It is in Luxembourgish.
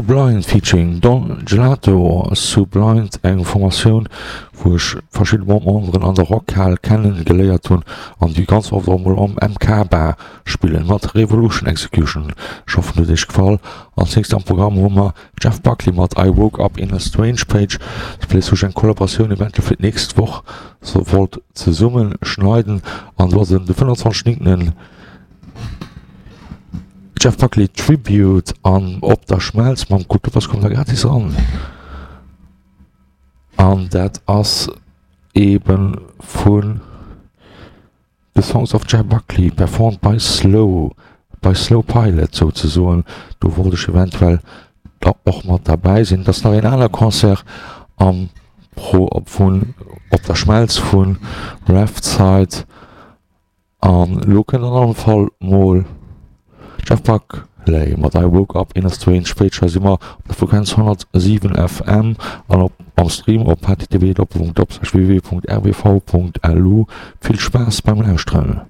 Sublind featuring Don Gelato. Sublind, eng Formatioun wou ech verschidde Memberen an der Rockhal kennen geléiert hunn an déi ganz oft och mol am MK Bar spillen mat Revolution Execution. Ech hoffen huet iech gefall. Als nächst am Programm hu mer Jeff Buckley mat I Woke Up In A Strange Page. Place wou ech eng Kollaboratioun eventuell fir d'nächst Woch so wollt zesummen schneiden an do ass en de 25 9. Jeff Buckley Tribute an Op der Schmelz mam Kulturpass kommt der gratis ran. An dat ass eben vun The Songs of Jeff Buckley performed by Slow, by Slow Pilot souzesoen. Do wollt ech eventuell da och mat derbäi sinn. Et ass nach een aner Concert am Pro vun Op der Schmelz vu Left Side. An elo kënnt an allem Fall mol Jeff Buckley mat I Woke Up In A Strange Page. Hei si mer op der Frequenz 107 FM an op am Stream op http://www.rwv.lu. Vill Spaass beim Lauschteren.